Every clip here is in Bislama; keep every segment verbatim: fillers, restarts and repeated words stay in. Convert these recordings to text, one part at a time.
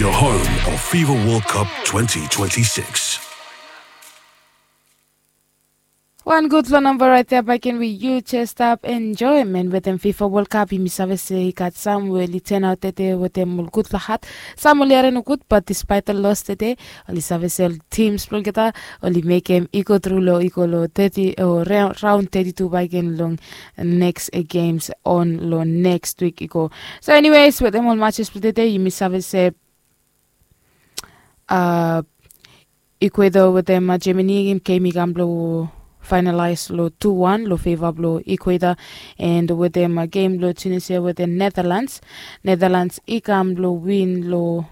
Your home of FIFA World Cup twenty twenty-six. Wan gudfala namba raet ya baken we yu jes stap enjoemen wetem FIFA World Cup. Yumi save se i gat sam we oli tenaot tede wetem ol gudfala hat. Sam oli harim nogud, bat dispaet ol los tede, oli save se ol tims blong olgeta oli mekem i go tru long i go long teti o raon teti tu baken long neks gems on long neks wik i go. So eniwes, wetem ol matches blong tede yumi save se a Ecuador wetem Germany, gem i kam blong fainalaes long tu wan long feva blong Ecuador. And wetem gem blong Tunisia wetem Netherlands, Netherlands i kam blong win long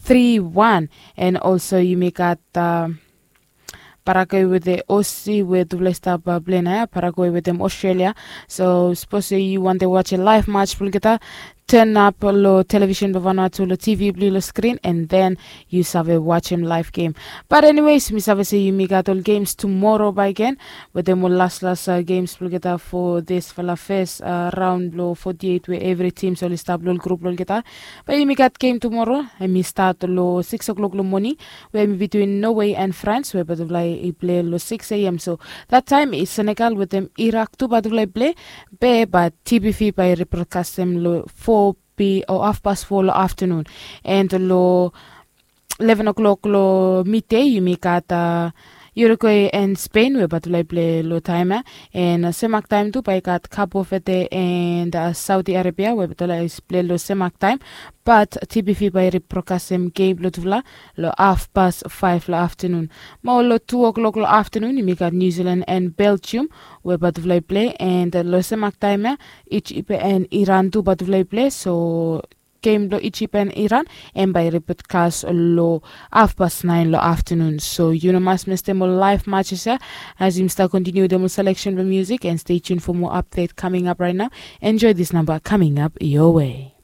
tri wan. And also yumi gat Paraguay wetem Osi we tufala i stap ple naoia, Paraguay wetem Australia. So sapos yu wantem wajem laef match blong olgeta, tenap long televisen blong Vanuatu long TV blong yu long skrin, and then yu save wajem laef gem. Bat eniwes, mi save se yumi gat ol gems tumora baken wetem ol laslas gems blong olgeta fo disfala fes raon blong foti eit we evri tims oli stap long ol grup blong olgeta. Bae yumi gat gem tumora, hem i stat long sikis klok long moning, we hem i bitwin Norway and France, we bae tufala i ple long sikis A M. So that taem i Senegal wetem Irak tu bae tufala i ple. Be bae TBV bae i ribrokastem long fo P o hafpas fo long aftanun. And long leven klok long midei yumi gat Uruguay and Spain we bae tufala i ple long taem ya. And semak taem tu bae i gat Cape Verde and Saudi Arabia we bae tufala i ple long semak taem. Bat TBV bae i ribrokastem gem blong tufala long hafpas faef long aftanun. Mo long tu klok long aftanun yumi gat New Zealand and Belgium we bae tufala i ple. And long semak taem ya, Ijip and Iran tu bae tufala i ple. So gem blong Ijip and Iran hem bae i ribrokastem long hafpas naen long aftanun. So yu no mas mistem ol laef matches ya as yumi stap kontiniu wetem ol seleksen blong musik, and stay tuned for more update coming up right now. Enjoy this number coming up your way.